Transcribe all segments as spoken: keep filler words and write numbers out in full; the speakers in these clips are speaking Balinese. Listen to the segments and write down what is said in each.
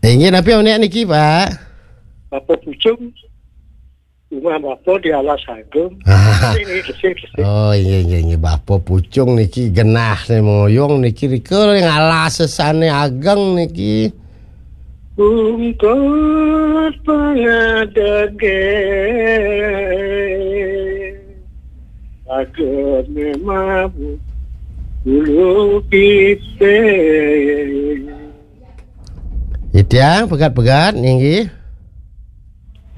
Inggih, napi unik niki, Pak? Bapa Pucung, rumah bapa di Alas Agung. Ini, ini, ini. Oh, iya, iya, iya. Bapa Pucung niki genah nih moyong niki rika ring alas sane ageng niki. Bungkut pangadege. Agene mabu bulu pite. Itiang pegat-pegat, inggih.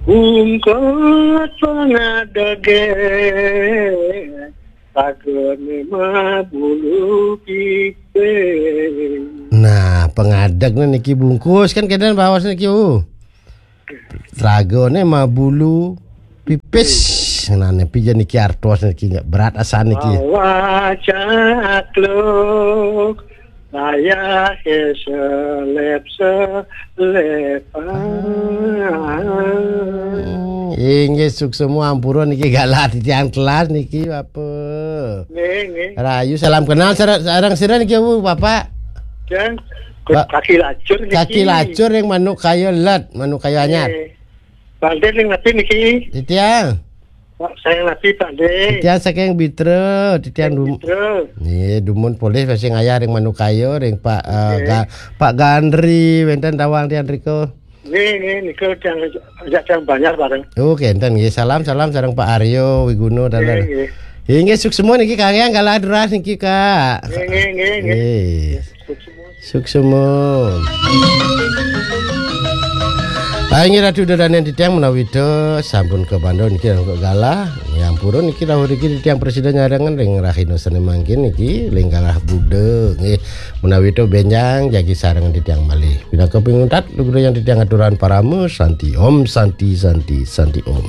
Bungkut pangadege, agene mabulu pipis. Nah, pangadeg niki bungkus kan kenten baos niki, uh. Ragane mabulu pipis. Nah, nepi ja niki artos niki, berat asan niki. Mawa cakluk, layahe selep selepan. Hmm, inggih suksma ampura niki galah titiang telas niki, Bapa. Nggih, nggih. Rahayu, salam kenal sara-, sareng sira niki, Bu, Bapak? Jang, Ba-, kaki lacur niki. Kaki lacur ring Manuk Kaya Let, Manuk Kaya Anyar. Nggih. Bangkit ring napi niki? Titiang. Pak, saking napi, Pak De? Titiang saking Bitra, titiang Saking dum-, Bitra. Nggih, dumun polih masih ngayah ring Manuk Kaya, ring Pak, eh, Nggih. Ga-, Pak Gandri, wenten tawang tiang rika. Nggih, nggih, nika tiang ajak tiang Banjar bareng. Oh, kenten nggih. Salam, salam sareng Pak Aryo Wiguna, nggih, taler. Nggih. Inggih, suksma niki kangge galah duras niki, Kak. Nggih, nggih, nggih, nggih. Nggih. Suksma. Suksma. Ah, inggih Ratu Ida Dane titiang menawi ta sampun kabanda niki ring galah. Nggih, ampura niki rawuh niki titiang prasida nyarengan ring rahina sane mangkin niki ring galah Buda. Nggih, menawi ta benjang jagi sareng titiang malih. Pinaka pinguntat lugrayang titiang aturang parama santi. Om Santi, Santi, Santi Om.